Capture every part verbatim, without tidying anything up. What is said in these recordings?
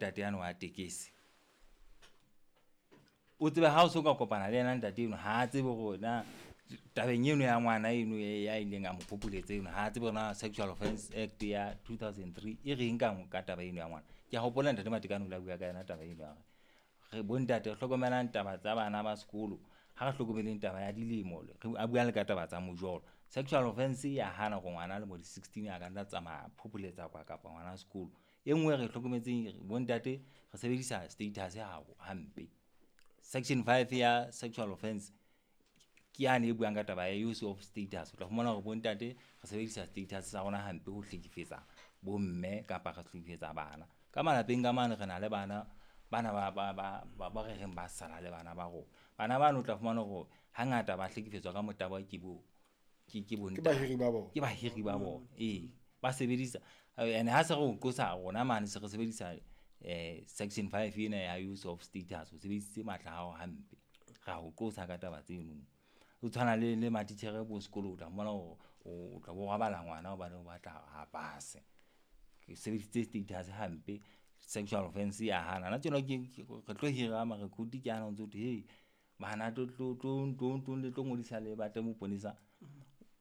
ntate yane wa tekesi. O tsebe ha o so ka kopana le yena ntate eno, ha a tsebe hore na tabeng eno ya ngwana eno ya ileng a mo phopholetsa eno, ha a tsebe hore na Sexual Offence Act ya two thousand three e reng ka ka taba eno ya ngwana. Ke a hopola ntate Matekane o ile a bua ka yona taba eno ya hore re bontate re hlokomelang taba tsa bana ba sekolo, ha re hlokomeleng taba ya dilemo, re a bua le ka taba tsa mojolo. Sexual offence ya hana hore ngwana a lemo di sixteen a ka nna tsamaya phopholetsa kwa kapa ngwana sekolo. E nngwe re hlokometseng bontate re sebedisa status ha hampe. Section five ya sexual offence ke yane e buang ka taba ya use of status. O tla fumana hore bontate re sebedisa status sa rona hampe ho hlekefetsa bomme kapa re hlekefetsa bana. Ka malapeng ka mane re na le bana bana ba ba ba ba ba re reng ba sala le bana ba rona. Bana bano o tla fumana hore hangata ba hlekefetswa ka motabo ke bo ke ke Ke bahiri ba bona. Ke bahiri ba bona. Ee, ba sebedisa ene ha se re o qosa rona mane se re sebedisa eh section five ena ya use of status, o sebedisitse matla a hao hampe. Ra ho qosa ka taba tseno. O tshwana le le matitjhere bo sekolo, o tla fumana hore o tla bo robala ngwana hobane o batla a pase. Ke sebedisitse status hampe, sexual offence ya hana. Hona tjena ke re tlo hira ma-recruit ke ana o ntso thwe, hey bana tlo tlo tlo tlo le tlo ngodisa le batle moponesa.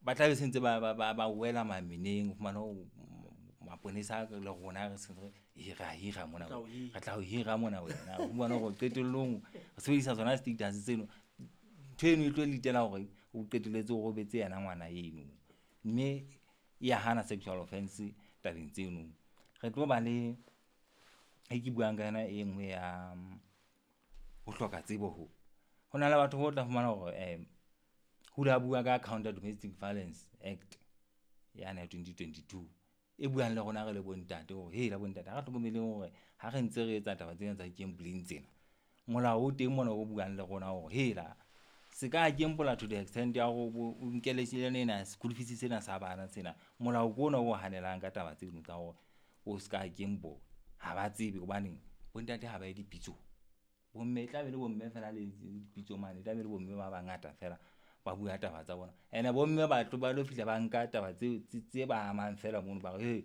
Ba tla be se ntse ba ba ba wela mameneng, o fumana hore maponesa le rona re se re hira hira mona. Re tla o hira mona wena. O fumana hore qetellong re sebedisa tsona status tseno. Ntho eno e tlo litela hore o qetelletse o robetse yena ngwana eno. Mme ya hana sexual offence tabeng tseno. Re tlo ba le e ke buang ka yona e nngwe ya ho hloka tsebo ho. Ho na le batho bo tla fumana hore eh ho la bua ka Counter Domestic Violence Act ya twenty twenty-two e buang le rona re le bontate hore he la bontate ha re hlokomeleng hore ha re ntse re etsa taba tsena tsa gambling tsena, molao o teng mona o buang le rona hore he la se ka gamble to the extent ya hore o nkele tjhelete ena school fees sena sa bana sena. Molao ke ona o hanelang ka taba tseno tsa hore o ska gamble. Ha ba tsebe hobane bontate ha ba ye dipitsong. Bomme e tla be le bomme fela le dipitso mane, e tla be le bomme ba bangata fela ba bua taba tsa bona. Ene bomme ba tlo ba lo fihla ba nka taba tse tse ba amang fela mono, ba re he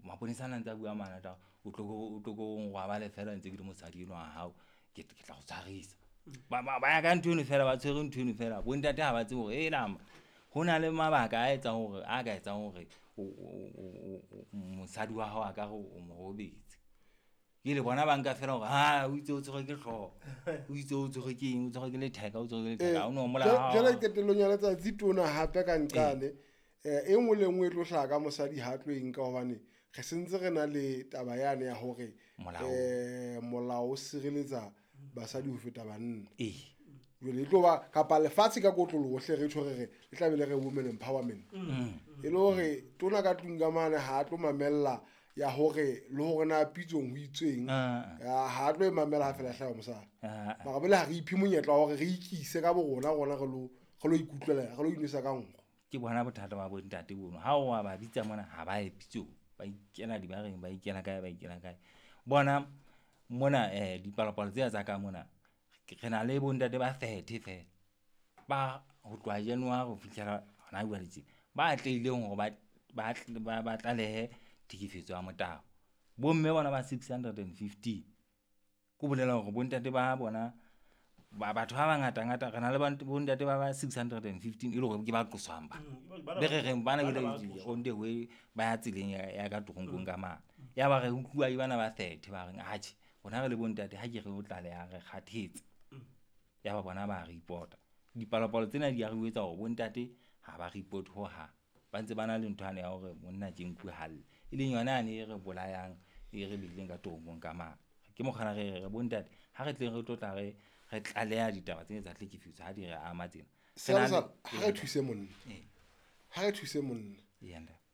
maponesa ana ntse a bua mana taba o tlo o tlo go ngwabale fela ntse ke le mosadi enwa wa hao, ke ke tla go tshwarisa. Ba ba ya ka ntho eno fela, ba tshwere ntho eno fela. Bontate ha ba tsebe hore e nama ho na le mabaka a etsang hore a ka etsang hore o mosadi wa hao a ka re o mo robetse. Ke le bona ba nka fela hore ha o itse o tshwerwe ke hlooho, o itse o tshwerwe ke eng, o tshwerwe ke letheka, o tshwerwe ke letheka, ha o no molao. Jwale qetellong ya letsatsi tona hape ka nqane, eh e nngwe le nngwe e tlo hlaha ka mosadi ha tlo e nka hobane re sentse re na le taba yane ya hore eh molao o sireletsa basadi ho feta banna. Eh. Jwale e tlo ba kapa lefatshe ka kotloloho hle re tjho re re le tla be le re women empowerment. E le hore tona ka tlung ka mane ha tlo mamella ya hore le hore na pitsong ho itsweng, ha tlo e mamela ha fela hlaha mosadi. Mara bele ha re iphe monyetla wa hore re ikise ka bo rona rona re lo re lo ikutlwela, re lo inwesa ka nkgo. Ke bona bothata ba bontate bono. Ha o wa ba bitsa mona ha ba ye pitsong, ba ikela dibareng, ba ikela kae, ba ikela kae. Bona mona eh dipalopalo tsena tsa ka mona re na le bontate ba thirty fela ba ho tloha January ho fihlela hona jwale tje ba atlehileng hore ba ba ba tlalehe tlhekefetso ya motabo. Bomme bona ba six hundred and fifteen. Ko bolela hore bontate ba bona ba batho ba bangata ngata re na le bontate ba ba six hundred and fifteen e le hore ke ba qoswang ba. Be re reng bana ke on the way ba ya tseleng ya ka toronkong ka mane. Ya ba re utlwa bana ba thirty ba reng atjhe rona re le bontate ha ke re o tlaleha re kgathetse. Ya ba bona ba report. Dipalopalo tsena di a re etsa hore bontate ha ba report ho hang. Ba ntse ba na le ntho yane ya hore monna ke nku halle. E leng yona yane e re bolayang e re beileng ka toronkong ka mane. Ke mokgwa re re bontate ha re tleng re tlo tla re re tlaleha ditaba tsena tsa tlhekefetso ha di re ama tsena. Sala ha re thuse monna. Ha re thuse monna.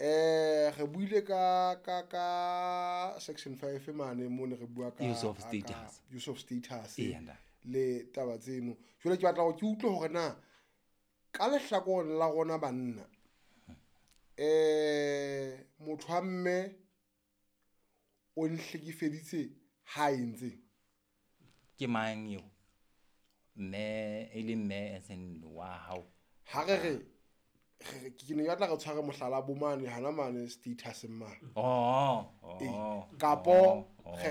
Eh re buile ka ka ka section five mane mo ne re bua ka use of status. Use of status. Le taba tseno. Jwale ke batla hore ke utlwe hore na ka lehlakoreng la rona banna eh motho wa mme o nhlekefeditse ha entse ke mang eo? Mme e le mme esen wa hao. Ha re re ke ne ke batla re tshware mohlala bo mane hana mane status mane. Oh oh. Kapo re